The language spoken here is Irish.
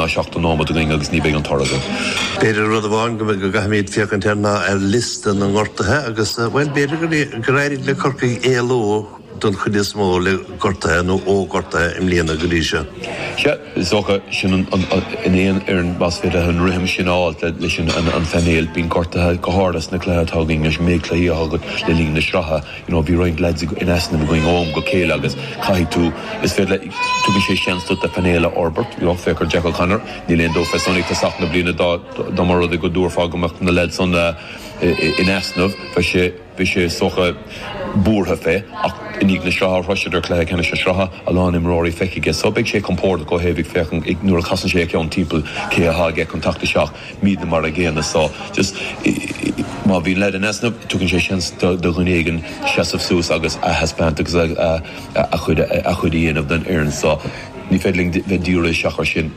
ná 70 nóiméad againn agus ní bheidh an toradh againn. B'fhéidir rud amháin go gcaithfimid féachaint air ná ar liosta na ngortuithe agus, bhuel, b'fhéidir gur éirigh le Corcaigh éalú don chuid is mó le gortuithe nó ó ghortuithe i mbliana go dtí seo. Sea, is dócha, sin an, in aon fhoireann más féidir leat an rithim sin a fháil leis an phainéal, bíonn gortuithe go háirithe sna cluichí atá againn leis an méid cluichí atá agat le linn na sraithe. You know, bhí roinnt lads in easnamh againn ó am go chéile agus caithfidh tú, is féidir le, tugann sé seans duit do phainéal a fhorbairt, you know, féach ar Jack O'Connor, níl aon dabht fé san ag tosach na bliana dá, dá mba rud é go dtabharfá go mbeadh na lads san in easnamh, bheadh sé, bhí sé is dócha buartha fé ach i ndiaidh na sraithe, shroiseadar cluiche ceannais na sraithe, a lán imreoirí feicthe aige so beidh sé compordach ó thaobh ag féachaint nuair a chasann sé a cheann timpeall cé atá aige chun teacht isteach, Muidne mar a gcéanna so just má bhíonn leaid in easnamh tugann sé seans do dhuine éigin seasamh suas agus a thaispeáint agus a chuid a dhéanamh don fhoireann so ní féidir linn bheith dírithe isteach ar sin.